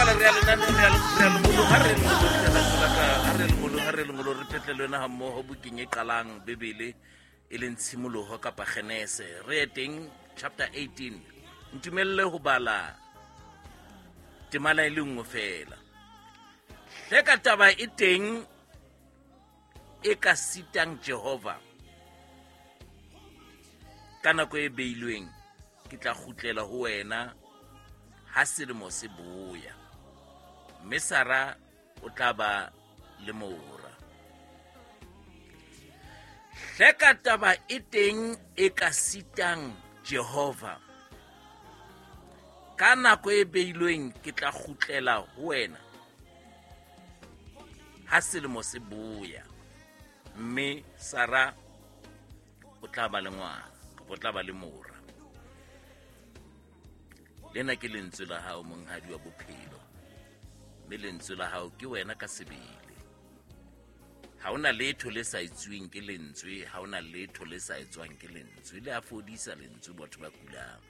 qala re ya lenaneng re ya lengolong ha re lengolong ha re lengolong ha re lengolong re phetle le wena ha mmoho bukeng e qalang bebele e leng tshimoloho kapa genese re ye teng chapter 18 ntumelle ho bala temana e le nngwe fela hleka taba e teng e ka sitang jehova ka nako e beilweng ke tla kgutlela ho wena ha selemo se boya mme sara o tla ba le mora hleka taba e teng e ka sitang jehova ka nako e beilweng ke tla kgutlela ho wena ha selemo se boya mme sara o tla ba le ngwana kapa o tla ba le mora lena ke lentswe la hao monghadi wa bophelo mme lentswe la hao ke wena ka sebele ha ona letho le sa etsuweng ke lentswe ha ona letho le sa etswang ke lentswe le a fodisa lentswe batho ba kulang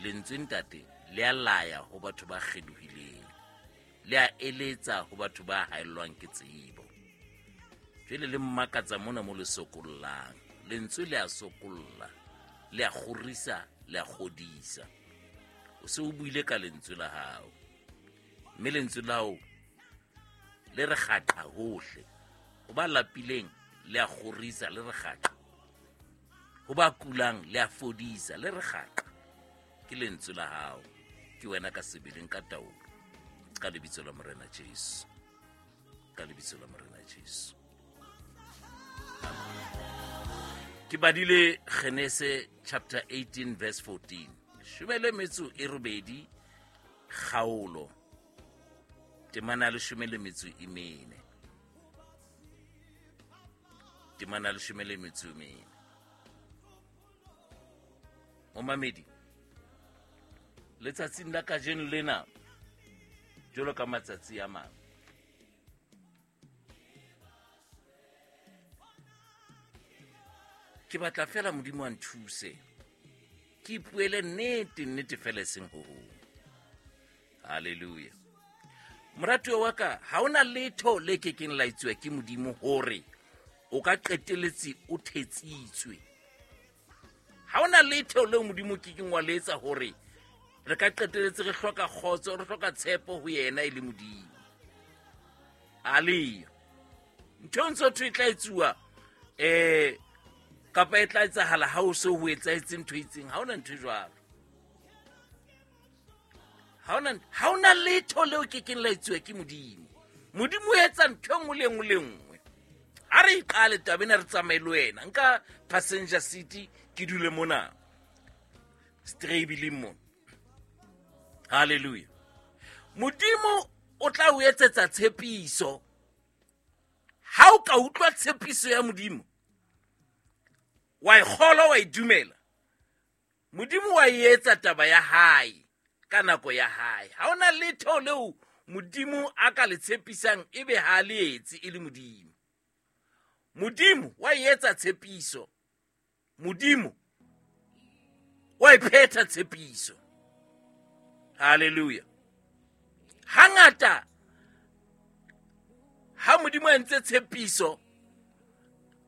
lentswe ntate le a laya ho batho ba kgelohileng le a eletsa ho batho ba haellwang ke tsebo jwale le mmakatsa mona mo le sokollang lentswe le a sokolla le a kgorisa le a kgodisa o se o buile ka lentswe la hao mme lentswe la hao le re kgaqa hohle ho ba lapileng le a kgorisa le re kgaqa ho ba kulang le a fodisa le re kgaqa ke lentswe la hao ke wena ka sebeleng ka taolo ka lebitso la morena jesu ka lebitso la morena jesu ke badile genese chapter 18 verse 14 shome le metso e robedi kgaolo temana ya leshome le metso e mene temana ya leshome le metso e mene momamedi letsatsing la kajeno lena jalo ka matsatsi a mang ke batla fela modimo a nthuse ke ipuele nnete nnete fela e seng ho hong halleluja moratuwa wa ka ha ona letho le ke keng la etsuwa ke modimo hore o ka qeteletse o thetsitswe ha ona letho leo modimo ke keng wa le etsa hore re ka qeteletse re hloka kgotso re hloka tshepo ho yena e le modimo aleyo ntho e ntse thwe e tla etsuwa um kapa e tla etsahala ha o se ho etsahetse ntho e itseng ha ona ntho e jwalo ha ona letho leo ke keng la etsuwa ke modimo modimo o etsa ntho e nngwe le nngwe le nngwe a re iqale taba ena re tsamaye le wena nka passenger city ke dule mona strabiling mona halleluja modimo o tla o etsetsa tshepiso ha o ka utlwa tshepiso ya modimo wa e kgolwa wa e dumela Modimo wa e etsa taba ya hae ka nako ya hae. Ha ona letho leo Modimo a ka le tshepisang ebe ha le etse e le Modimo. Modimo wa e etsa tshepiso. Modimo wa e phetha tshepiso. Hallelujah. Hangata ha Modimo a entse tshepiso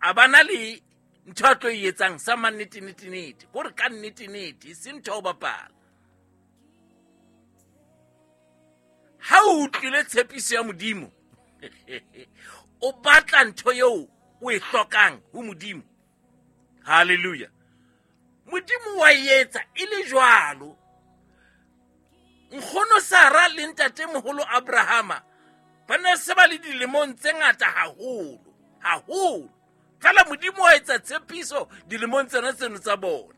a bana le ntho a tlo e etsang sa mannetenetenete kore ka nnetenete e se ntho ya go bapala ha o utlwile tshepiso ya modimo o batla ntho eo o e hlokang ho modimo halleluja modimo wa etsa e le jwalo nkgono sara le ntatemoholo abrahama ba ne se ba le dilemong tse ngata haholo haholo fela modimo wa etsa tshepiso dilemong tsena tseno tsa bona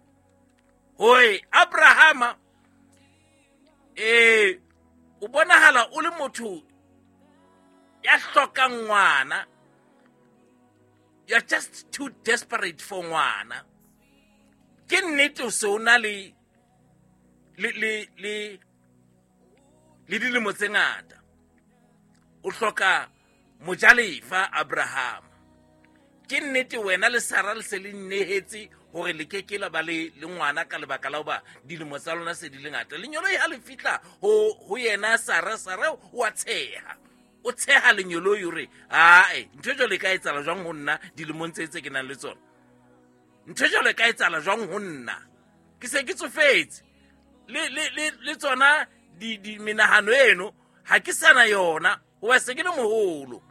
hore abrahama ee o bonahala o le motho ya hlokang ngwana you're just too desperate for ngwana ke nnete o se o na le le le le le dilemo tse ngata o hloka mojalefa abrahama Ke nnete wena le Sara le se le nnehetse hore le ke ke la ba le ngwana ka lebaka la hoba dilemo tsa lona se di le ngata. Lenyoloi ha le fihla ho yena Sara, Sara o a tsheha. O tsheha lenyoloi hore ae, ntho jwalo e ka etsahala jwang ho nna dilemong tse ke nang le tsona? Ntho jwalo e ka etsahala jwang ho nna? Ke se ke tsofetse. Le tsona di menahano eno ha ke sana yona hoba se ke le moholo.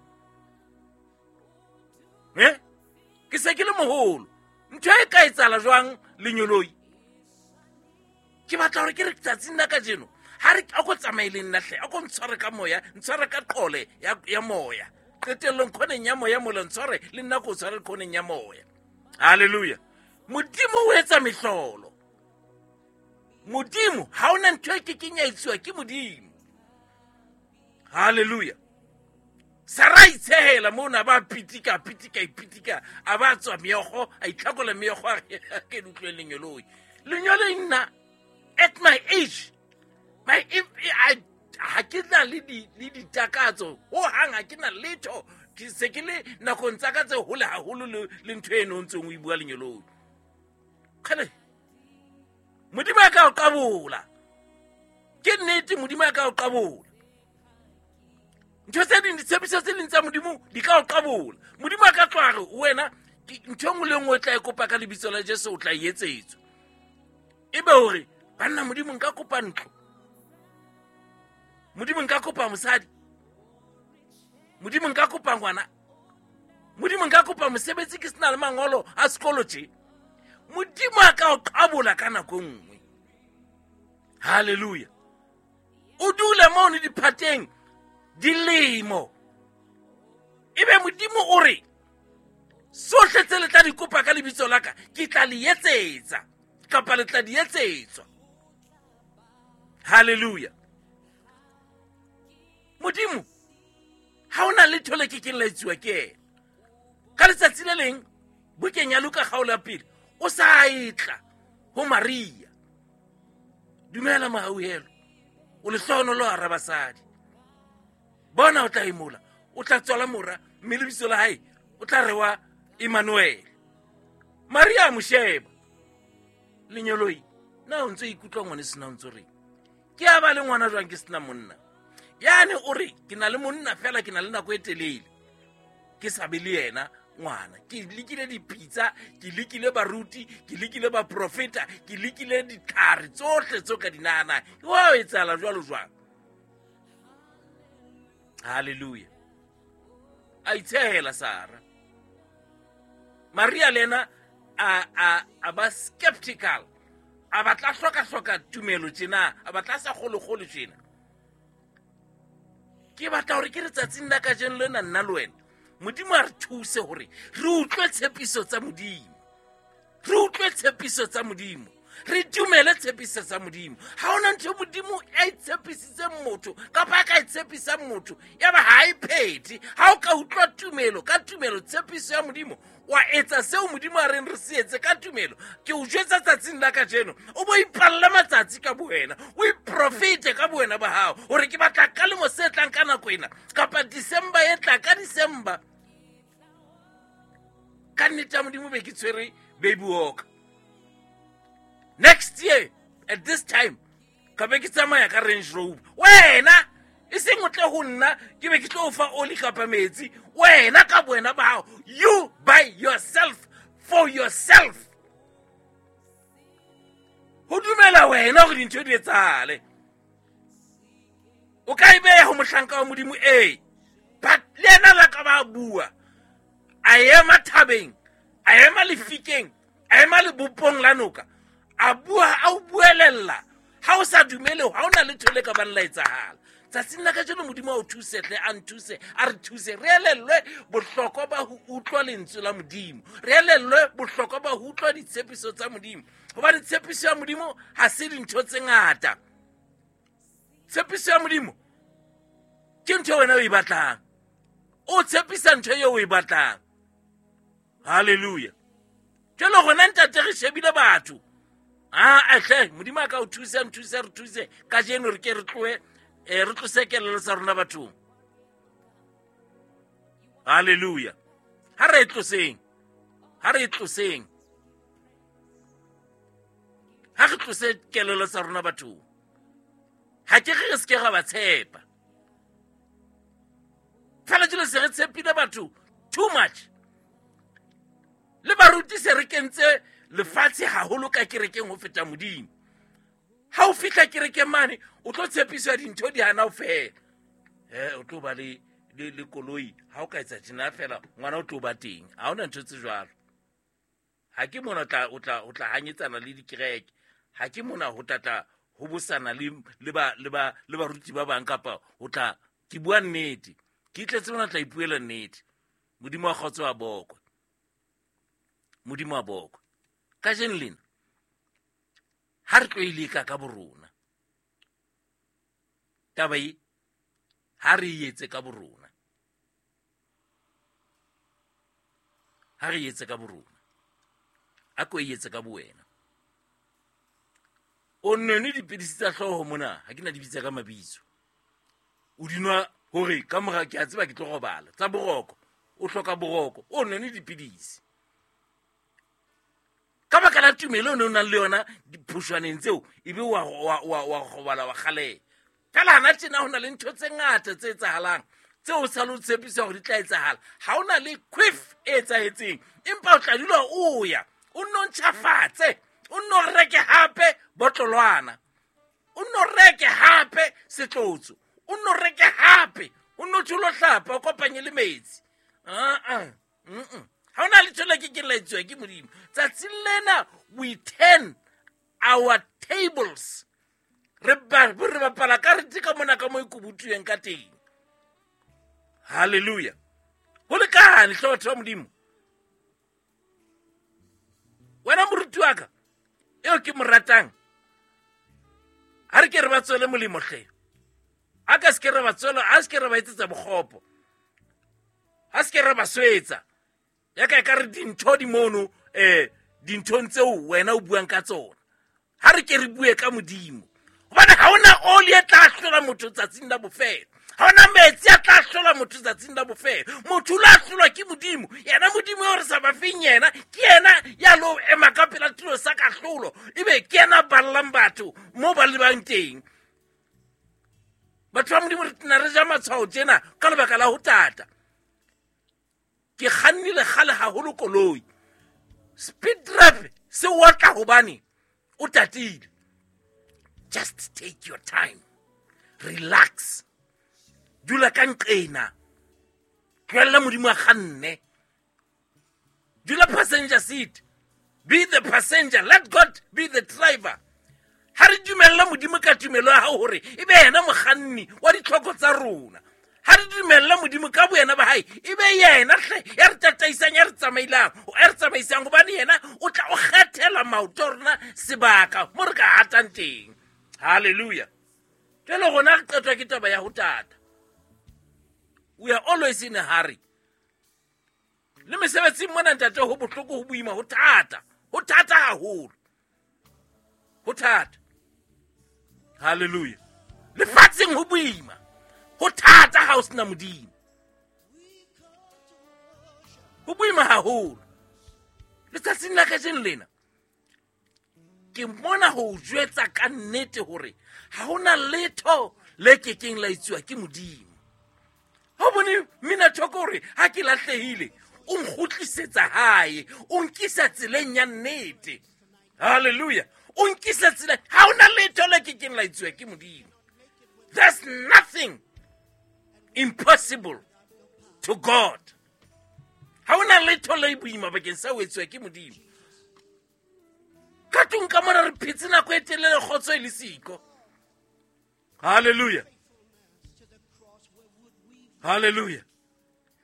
Ke se ke le moholo. Ntho e ka etsahala jwang lenyoloi? Ke batla hore ke re tsatsing la kajeno ha re a ko tsamaye le nna hle, a ko ntshware ka moya, ntshware ka qole ya moya. Qetellong khoneng ya moya mola ntshware le nna ko tshware khoneng ya moya. Hallelujah. Modimo o etsa mehlolo. Modimo ha ona ntho e kekeng ya etsuwa ke Modimo. Hallelujah. Sara a itshehela mona, ba pitika, pitika, ipitika, a ba tswa meokgo, a itlhakola meokgo, a re, ke le utlwe lenyoloi. Lenyoloi nna, at my age, my, if, I, ha ke na le di, le ditakatso, ho hang ha ke na letho, ke se ke le nakong tsa ka tse hole haholo le ntho eno o ntseng o e bua lenyoloi. Kgale, Modimo a ka o qabola. Ke nnete, Modimo a ka o qabola. Ntho tse ding, ditshepiso tse ding tsa Modimo di ka o qabola. Modimo a ka tloha re wena, ntho e nngwe le nngwe o tla e kopa ka lebitso la Jesu, o tla e etsetswa. Ebe hore, banna, Modimo nka kopa ntlo. Modimo nka kopa mosadi. Modimo nka kopa ngwana. Modimo nka kopa mosebetsi ke sena le mangolo a sekolo tje. Modimo a ka o qabola ka nako e nngwe. Hallelujah. O dule mono diphateng dilemo. Ebe Modimo o re, sohle tse le tla di kopa ka lebitso la ka, ke tla le etsetsa, kapa le tla di etsetswa. Hallelujah. Modimo ha ona letho le ke keng la etsuwa ke yena. Ka letsatsi le leng, bukeng ya Luka kgaolo ya pele, o sa etla ho Maria. Dumela mohauhelo, o lehlohonolo hara basadi. Bona o tla emola, o tla tswala mora, mme lebitso la hae o tla rewa Emmanuel. Maria a mo sheba. Lenyoloi, na o ntse o ikutlwa ngwane sena o ntse o reng? Ke a ba le ngwana jwang ke sena monna? Yane o re, ke na le monna fela, ke na le nako e telele ke sa be le yena ngwana. Ke lekile dipitsa, ke lekile baruti, ke lekile baprofeta, ke lekile ditlhare tsohle tseo ka di nahanang. Wa etsahala jwalo jwang? Hallelujah. A itshehela Sara. Maria le yena a ba skeptical. A batla hloka-hloka tumelo tjena, a batla sa kgolo-kgolo tjena. Ke batla hore ke re tsatsing la kajeno lena nna le wena, Modimo a re thuse hore re utlwe tshepiso tsa Modimo. Re utlwe tshepiso tsa Modimo. Re dumele tshepiso tsa Modimo. Ha hona ntho Modimo a e tshepisitseng motho kapa a ka e tshepisang motho, ya ba ha e phethe. Ha o ka utlwa tumelo, ka tumelo tshepiso ya Modimo, wa etsa seo Modimo a reng re se etse ka tumelo. Ke o jwetsa tsatsing la kajeno, o bo ipalle matsatsi ka bowena, o iprofete ka bowena ba hao hore ke batla ka lemo se tlang ka nako ena, kapa December e tla ka December. Ka nnete ya Modimo be ke tshwere baby walker. Next year at this time ka be ke tsamaya ka Range Rover. Wena e seng o tle ho nna ke be ke tlo o fa oli kapa metsi. Wena ka bowena ba hao, you by yourself, for yourself. Ho dumela wena hore dintho di etsahale. O ka e beha ho mohlanka wa Modimo, ee, but le yena la ka ba bua, a ema thabeng, a ema lefikeng, a ema lebopong la noka, a bua, a o buelella. Ha o sa dumele, ha o na letho le ka bang la etsahala. Tsatsing la kajeno Modimo a o thuse hle, a nthuse, a re thuse, re elellwe bohlokwa ba ho utlwa lentswe la Modimo, re elellwe bohlokwa ba ho utlwa ditshepiso tsa Modimo, hobane tshepiso ya Modimo ha se dintho tse ngata. Tshepiso ya Modimo ke ntho wena o e batlang, o tshepisa ntho eo o e batlang. Hallelujah. Jwale rona ntate re shebile batho. Ah, hle, Modimo a ka o thusa, nthuse, re thuse. Kajeno re ke re tlohe, re tlose kelello tsa rona bathong. Hallelujah. Ha re e tloseng. Ha re e tloseng. Ha re tlose kelello tsa rona bathong. Ha ke re re se ke ra ba tshepa. Fela jwale se re tshepile batho too much. Le baruti se re kentse lefatshe haholo ka kerekeng ho feta Modimo. Ha o fihla kerekeng mane o tlo tshepiswa dintho di hana ho fela. O tlo ba le koloi ha o ka etsa tjena fela ngwana o tlo ba teng. Ha hona ntho tse jwalo. Ha ke mona o tla hanyetsana le dikereke. Ha ke mona ho tla ho bosana le baruti ba bang kapa ho tla ke bua nnete. Ke tletse mona tla ipuela nnete. Modimo wa kgotso wa bokwe. Modimo wa bokwe. Kajeno lena ha re tlo e leka ka borona. Taba e ha re e etse ka borona. Ha re e etse ka borona. A ko e etse ka bowena. O none dipidisi tsa hlooho mona, ha ke na di bitsa ka mabitso. O di nwa hore ka mora ke a tseba ke tlo robala. Tsa boroko, o hloka boroko, o none dipidisi. Ka baka la tumelo o ne o nang le yona diphoshwaneng tseo, ebe wa robala wa kgaleha. Fela hana tjena ho na le ntho tse ngata tse etsahalang tseo o sa le o tshepisa hore di tla etsahala. Ha o na le quiff e etsahetseng, empa o tla dula o ya, o nno ntjhafatse, o nno reke hape botlolwana, o nno reke hape setlotso, o nno reke hape, o nno tsholo hlapa, o kopanye le metsi. Ha hona letho le ke ke la etsuwa ke Modimo. Tsatsing lena we turn our tables. Re bapala karete ka mona ka mo e kubutuweng ka teng. Hallelujah. Ho lekane hle batho ba Modimo. Wena moruti wa ka eo ke mo ratang, ha re ke re ba tswele molemo hle. A ka se ke re ba tswela, a se ke re ba etsetsa bokgopo. Ha se ke re ba swetsa. Ya ka e ka re dintho di mono, dinthong tseo wena o buang ka tsona. Ha re ke re bue ka Modimo. Hobane ha hona oli e tla hlola motho tsatsing la bofelo. Ha hona metsi a tla hlola motho tsatsing la bofelo. Motho o la hlolwa ke Modimo. Yena Modimo eo re sa ba feng yena, ke yena ya lo ema ka pela tulo sa kahlolo. Ebe ke yena a ballang batho moo ba lebang teng. Batho ba Modimo re tena re ja matshwao tjena ka lebaka la ho tata. Ke kgannile kgale haholo koloi. Speed trap se otla hobane o tatile. Just take your time. Relax. Dula ka nqena. Tlohella Modimo a kganne. Dula passenger seat. Be the passenger. Let God be the driver. Ha re dumella Modimo ka tumelo ya hao hore e be yena mokganni wa ditlhoko tsa rona. Ha re dumella Modimo ka boyena ba hae, e be yena hle ya re tataisang, ya re tsamailang, ya re tsamaisang, hobane yena o tla o kgethela maoto a rona sebaka mo re ka hatang teng. Hallelujah. Jwale rona re qetwa ke taba ya ho tata. We are always in a hurry. Le mesebetsing mona ntate ho bohloko, ho boima, ho thata. Ho thata haholo. Ho thata. Hallelujah. Lefatsheng ho boima. Ho thata ha o sena Modimo. Ho boima haholo. Letsatsing la kajeno lena ke mona ho jwetsa ka nnete hore ha hona letho le kekeng la etsuwa ke Modimo. Ha o bone mmina thoko hore ha ke lahlehile o nkgutlisetsa hae, o nkisa tseleng ya nnete. Hallelujah. O nkisa tseleng. Ha hona letho le kekeng la etsuwa ke Modimo. There's nothing impossible to God. Ha hona letho le boima bakeng sa ho etsuwa ke Modimo. Ka tlung ka mona re phetse nako e telele kgotso e le siko. Hallelujah. Hallelujah.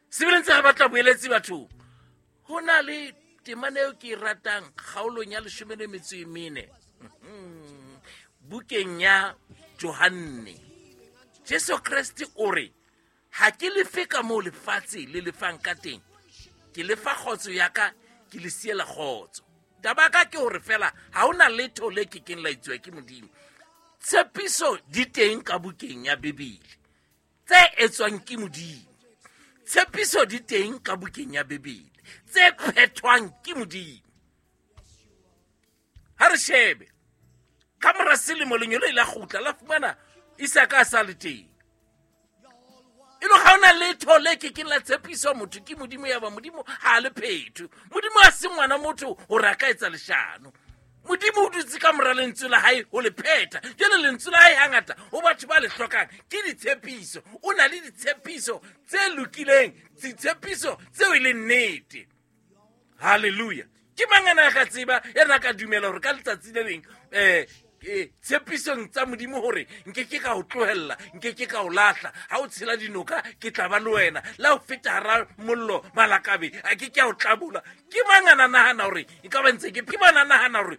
Sebele ntse re batla boeletsi bathong. Ho na le temana eo ke e ratang kgaolong ya leshome le metso e mene. Bukeng ya Johanne. Jesu Kreste o re, ha ke lefe ka moo lefatshe le lefang ka teng, ke lefa kgotso ya ka, ke le siela kgotso. Taba ka ke hore fela ha hona letho le kekeng la etsuwa ke Modimo. Tshepiso di teng ka bukeng ya Bibele tse etswang ke Modimo. Tshepiso di teng ka bukeng ya Bibele. Tse phethwang ke Modimo. Ha re shebe ka mora selemo, lenyolo ile la kgutla, la fumana Isaka a sa le teng. E le ga ona letho le ke keng la tshepiswa motho ke Modimo, ya ba Modimo ha a le phetho. Modimo a se ngwana motho gore a ka etsa leshano. Modimo o dutse ka mora lentswe la hae ho le phetha. Jale lentswe la hae hangata ho batho ba le hlokang ke ditshepiso. O na le ditshepiso tse lokileng, ditshepiso tseo e leng nnete. Halleluja! Ke mang ana ka tseba ena ka dumela gore ka letsatsi le leng tshepisong tsa Modimo gore nke ke ka o tlohella, nke ke ka o lahla? Ha o tshela dinoka, ke tla ba le wena. La o feta hara mollo, malakabe a ke ke a o tlabola. Ke mang ana nahana gore e ka ba ntse ke bana nahana gore